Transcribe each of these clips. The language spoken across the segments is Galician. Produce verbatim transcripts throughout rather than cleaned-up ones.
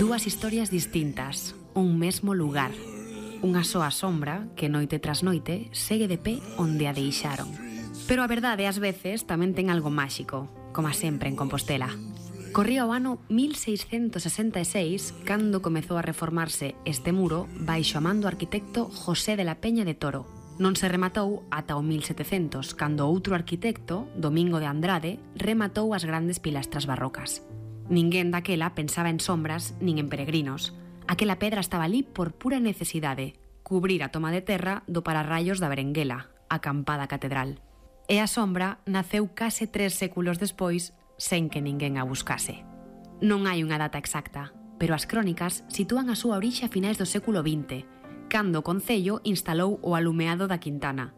Dúas historias distintas, un mesmo lugar. Unha soa sombra que noite tras noite segue de pé onde a deixaron. Pero a verdade ás veces tamén ten algo máxico, como sempre en Compostela. Corría o ano mil seiscentos sesenta e seis cando comezou a reformarse este muro baixo a man do arquitecto José de la Peña de Toro. Non se rematou ata o mil setecentos, cando outro arquitecto, Domingo de Andrade, rematou as grandes pilastras barrocas. Ninguén daquela pensaba en sombras nin en peregrinos. Aquela pedra estaba ali por pura necesidade, cubrir a toma de terra do pararraios da Berenguela, a acampada catedral. E a sombra naceu case tres séculos despois sen que ninguén a buscase. Non hai unha data exacta, pero as crónicas sitúan a súa orixe a finais do século vinte, cando o concello instalou o alumeado da Quintana.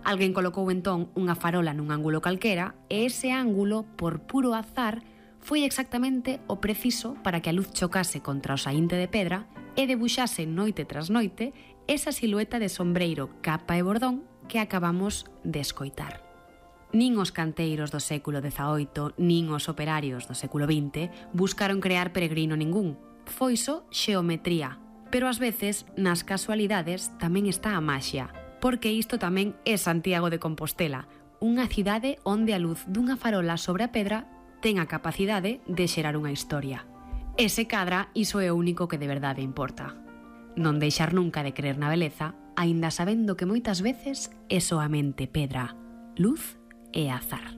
Alguén colocou entón unha farola nun ángulo calquera e ese ángulo, por puro azar, foi exactamente o preciso para que a luz chocase contra o saínte de pedra e debuxase noite tras noite esa silueta de sombreiro, capa e bordón que acabamos de escoitar. Nin os canteiros do século dezaoito, nin os operarios do século vinte buscaron crear peregrino ningún. Foi só xeometría. Pero ás veces, nas casualidades, tamén está a maxia, porque isto tamén é Santiago de Compostela, unha cidade onde a luz dunha farola sobre a pedra ten a capacidade de xerar unha historia. E se cadra, iso é o único que de verdade importa. Non deixar nunca de creer na beleza, aínda sabendo que moitas veces é soamente pedra, luz e azar.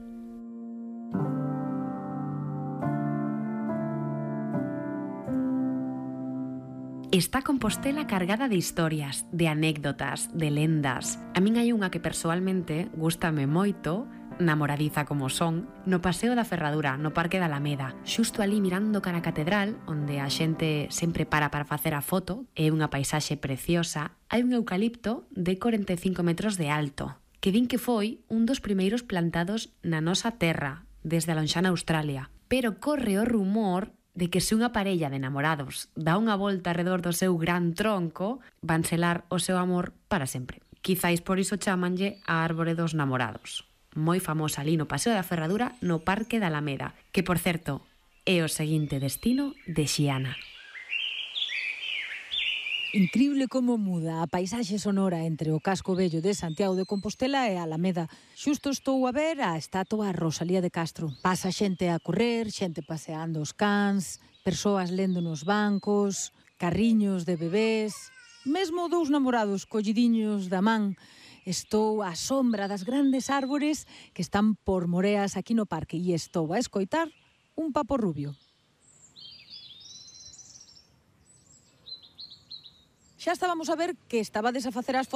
Está Compostela cargada de historias, de anécdotas, de lendas. A min hai unha que persoalmente gústame moito, namoradiza como son, no Paseo da Ferradura, no Parque da Alameda, xusto ali mirando cara a catedral, onde a xente sempre para para facer a foto, é unha paisaxe preciosa, hai un eucalipto de corenta e cinco metros de alto, que din que foi un dos primeiros plantados na nosa terra, desde a lonxana Australia. Pero corre o rumor de que se unha parella de namorados dá unha volta arredor do seu gran tronco, van selar o seu amor para sempre. Quizáis por iso chámanlle a árbore dos namorados. Moi famosa ali no Paseo da Ferradura, no Parque da Alameda, que, por certo, é o seguinte destino de Xiana. Increíble como muda a paisaxe sonora entre o casco vello de Santiago de Compostela e a Alameda. Xusto estou a ver a estatua Rosalía de Castro. Pasa xente a correr, xente paseando os cans, persoas lendo nos bancos, carriños de bebés, mesmo dous namorados collidiños da man. Estou á sombra das grandes árbores que están por moreas aquí no parque e estou a escoitar un papo rubio. Xa estábamos a ver que estabades a facer as fotos